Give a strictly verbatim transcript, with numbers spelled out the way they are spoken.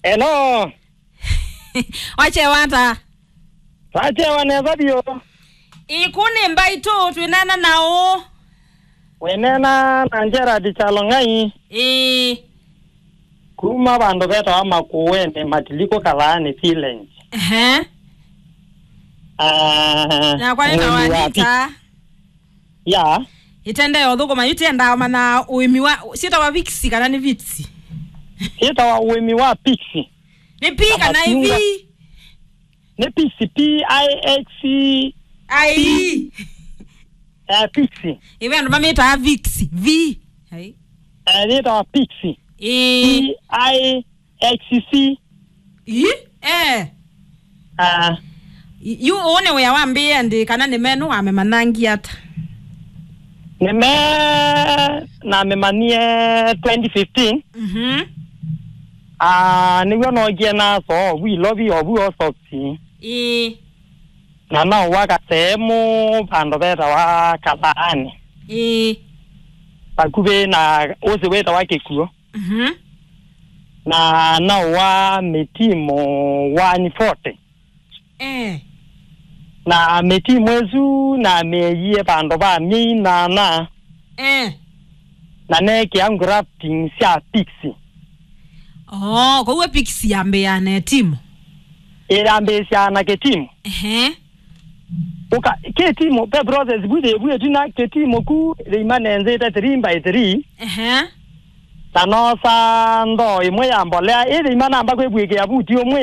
Hello. Wakyewa ata? Twakyewa nesa vyũ. Ĩĩ, kũũ nĩ Mbaitũ, twĩneena na ũ? Wĩneena na Gerard Chalong'ai. Ĩĩ. Kuma vandũ vetawa Makueni, Matilikũ, Kalaani Village. Ehe. Ah, nakwa nĩtawa mũĩmi wa Anita. Pi-, ya. Ĩtendee ũthũkũma, yu tyendaa ũmanya ũĩmi wa, syĩtawa viksi kana nĩ vitsi? Syĩtawa ũĩmi wa piksi. Nĩ pi kana nĩ vi? Nĩ piksi, P I X I. Eh, piksi. Ĩve andũ mamĩtaa viksi, vi. Ai. Eh, yĩtawa piksi. Ĩĩ. P I X C. Ĩ? Eh. Ah. Yu ũũ nĩ wĩa wambĩĩe ndĩ kana nĩ menũ wamemanyie ata? Nĩ me namemanyie twenty fifteen. Mhm. Ah, nĩw'o nookie na soo vu Ilovi o vu Allsops. Ĩĩ. Na naũa kaseemũ vandũ vetawa Kalaani. Ĩĩ. Vakuvĩ na ũsĩ wĩtawa Kĩkuo. Mhm. Na naũa mĩtimũ one forty. Eh. Na mĩtimũ ĩsu namĩeie vandũ va myei nyanya. Eh. Na neekĩa grafting sya piksi. Oh, kwoou piksi yambĩĩaa na ĩtimũ? Ĩyambĩĩsyaa na kĩtimũ. Ehe. Ũka, kĩtimũ, pe process vu yĩvu ĩtina kĩtimũ ku ĩima nenzĩte three by three. Ehe. Na noosa ndoo ĩmwe ya mbolea, ĩthĩima namba kwĩvw'ĩkĩa vuti ũmwe.